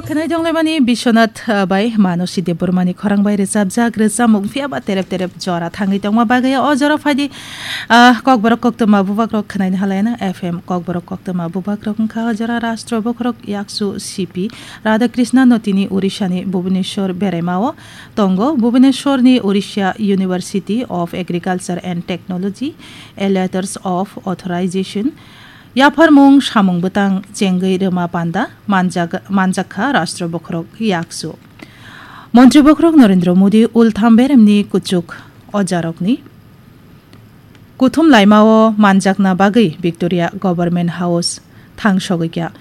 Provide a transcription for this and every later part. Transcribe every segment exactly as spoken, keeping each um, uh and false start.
Khwnai tonglaimani Biswanath, ah, bai Manosi Debbarmani khorang bai rwchapjak rwchapmung phiya ba terep terep jora thangwi tongma bagwi o jora phaidi, ah, Kokborok Koktwma Bubagrok khwnaini halaino F M Kokborok Koktwma Bubagrok wngkha o jora Rashtra Bokhorok Yaksu C P Radhakrishna no tini Orishani Bhubaneswar beraimao tongo. Bhubaneswarni Orissa University of Agriculture and Technology, a letters of authorization, yapharmung samung bwtang chengwi rwma panda manjak-, manjakha Rashtra Bokhorok Yaksu. Montri Bokhorok Narendra Modi ultham beremni kuchuk ojarokni kuthum laimao manjakna bagwi Victoria Government House thangsogwi kha.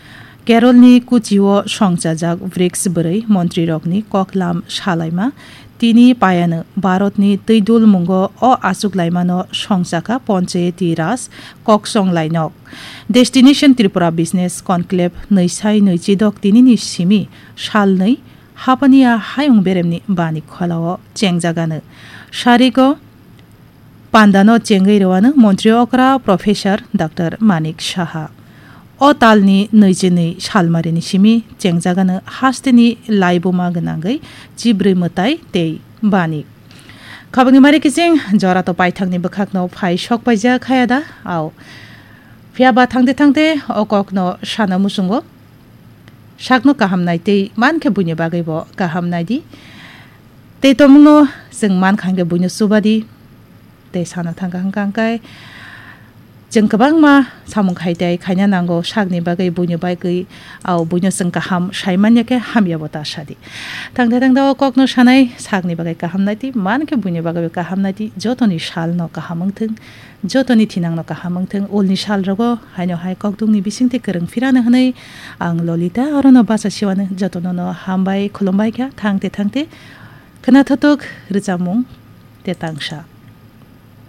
Keralni kuchio songchajak brics bwrwi montrirokni koklam salaima tini payano Bharatni twidul mungo o achuk laimano songchakha Panchayati Raj koksong lainok. Destination Tripura Business Conclave nwi sai nwi chidok tinini simi salnwi Hapania hayung beremni bani kholao chengjagano. Sarigo pandano chengwi rwano montri okra Professor Doctor Manik Saha. O talni nwi chinwi salmarini simi chengjagano hasteni laibuma gwnangwi chibrwi mwtai tei bani. Khabangni mari kiching jora to paithakni bwkhakno phai sok paijak khaya da? Ao. Phiya ba thangte thangte o kokno sana muchungo. Sakno kaham nai tei man khe buini bagwi bo kaham nai di. Tei tongmungno chwng man kha hwnkhe buino chuba di. Tei sana thangkha hwnkha hwnkhe chwng kwbangma samung khai tei khaina nango sakni bagwi buino bagwi, ao buino chwng kaham sai manya khe hamya bo ta sa di. Thangte thangte o kokno sanai sakni bagwi kaham nai di, man khe buino bagwi bo kaham nai di, jotoni salno kaham wng thung. Jotoni thinangno kaham wng thung, ulni salrogo haino hai kokdungni bisingtwi kwrwng phirano hwnwi ang Lolita orono bacha siwano jotonono hambai khulumbai kha thangte thangte khwna thutuk rwchapmung te tangsa.